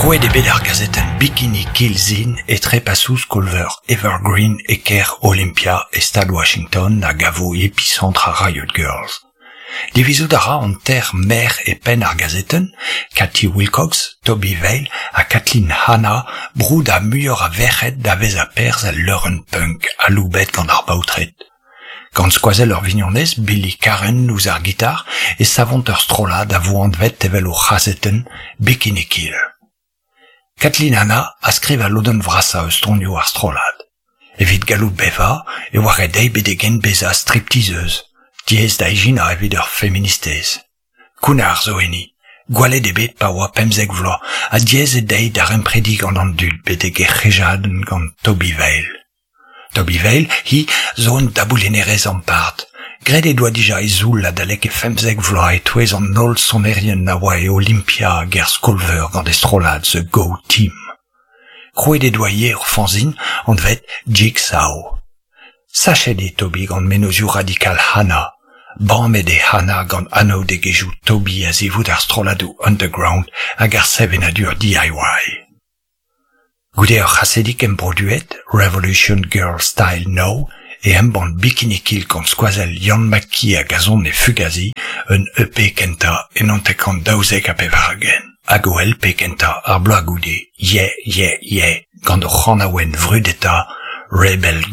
Krouet eo bet ar gazetenn Bikini Kill Zine e trepasoù skol-veur Evergreen e kêr Olympia e stad Washington a gavo episantr ar Riot Girls. Divizout a ra an teir merc'h e penn ar gazetenn, Katie Wilcox, Tobi Vail ha Kathleen Hanna, broudañ muioc'h a verc'hed da vezañ perzh el leurenn punk aloubet gant ar baotred. Gant skoazell ur vignonez, Billy Karren ouzh ar gitar, e savont ur strollad a vo anvet evel o c'hazetenn, Bikini Kill. Kathleen Hanna a skriv al lodenn vrasañ eus tonioù ar strollad. Evit gallout bevañ e oa ret dezhi betek-henn bezañ stripteaseuse, diaes da ijinañ evit ur feministez. Kounnar zo enni, gwallet eo bet pa oa 15 vloaz ha diaes eo dezhi daremprediñ gant an dud betek he c'hejadenn gant Tobi Vail. Tobi Vail, hi, zo un daboulinerez ampart. Graet he doa dija he zoull adalek he 15 vloaz e-touez an holl sonerien a oa e Olympia hag er skol-veur gant he strollad The Go Team. Krouet he doa ivez ur fanzin anvet Jigsaw. Sachet eo Tobi gant mennozhioù radikal Hanna. Bamet eo Hanna gant anaoudegezhioù Tobi a-zivout ar strolladoù underground hag ar sevenadur DIY. Goude ur c'hasedig embroduet, Revolution Girl Style Now, e embann Bikini Kill gant skoazell Yann McKee hag azon e Fugazi un EP kentañ en 1992 hag o LP kentañ ar bloaz goude, Yeah Yeah Yeah, gant o c'hanaouenn vrudetañ, Rebel.